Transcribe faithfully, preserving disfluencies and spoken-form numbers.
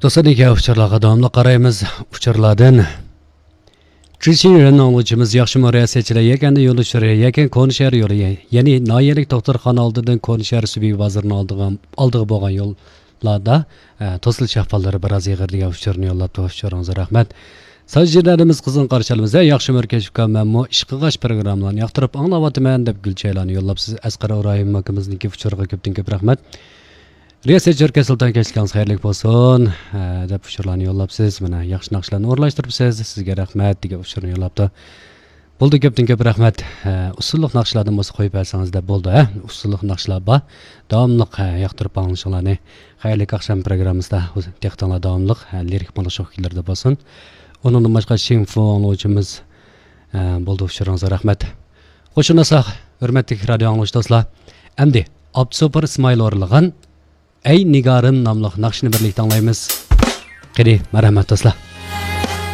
دوستلار، ئۇچۇرلارغا داۋاملىق قارايمىز. ئۇچۇرلاردىن. چۈشۈرۈن ئاڭلىغۇچىمىز ياخشىمۇ رىياسەتچىلەر يەكەندە يول ئۇچۇرى، يەكەن كونىشەھەر يولى، يەنى ناھىيەلىك دوختۇرخانا ئالدىدىن كونىشەھەر سۈبھى بازىرىنىڭ ئالدىغا، ئالدىغا بولغان يوللاردا، ئە، توسۇلۇش ئەھۋاللىرى بىراز ئېغىر دېگەن ئۇچۇرنى يوللاپتۇ. ئۇچۇرىڭىزغا رەھمەت. ساجىدەدىمىز قىزغىن قارشى ئالىمىز. ھە، ياخشى مەركەز ئۇكام، مەنمۇ ئىشقىغاچ پروگراممىلارنى ياقتۇرۇپ ئاڭلاۋاتىمەن دەپ گۈلچەيلانى يوللاپسىز. ئەسقەر ئىبراھىم ئاكىمىزنىڭكى ئۇچۇرىغا كۆپتىن كۆپ رەھمەت. رىياسەت جۆركە سۇلتان، كەچلىكىڭىز خەيرلىك بولسۇن، ھە، دەپ ئۇچۇرلارنى يوللاپسىز. مانا، ياخشى ناخشىلارنى ئورۇنلاشتۇرۇپسىز، سىزگە رەھمەت دېگەن ئۇچۇرنى يوللاپتۇ. بولدى، كۆپتىن كۆپ رەھمەت. ھە، ئۇسسۇللۇق ناخشىلاردىن بولسا قويۇپ بەرسىڭىز دەپ بولدى، ھە؟ ئۇسسۇللۇق ناخشىلار بار. داۋاملىق، ھە، ياقتۇرۇپ ئاڭلىشىڭلارنى. خەيرلىك ئاخشام پروگراممىسىدا دىققىتىڭلار داۋاملىق، ھە، لىرىك مۇڭلۇق شوخ كۈيلەردە بولسۇن. ئۇنىڭدىن باشقا شىڭفۇ ئاڭلىغۇچىمىز، ھە، بولدى، ئۇچۇرىڭىزغا رەھمەت. خوش ئۇنىساق، ھۆرمەتلىك رادىيو ئاڭلىغۇچى دوستلار. ئەمدى ئابدۇسوپۇر ئىسمائىل ئورۇنلىغان ئەي نىگارىم ناملىق ناخشىنى بىرلىكتە ئاڭلايمىز. قېنى، مەرھەمەت دوستلار.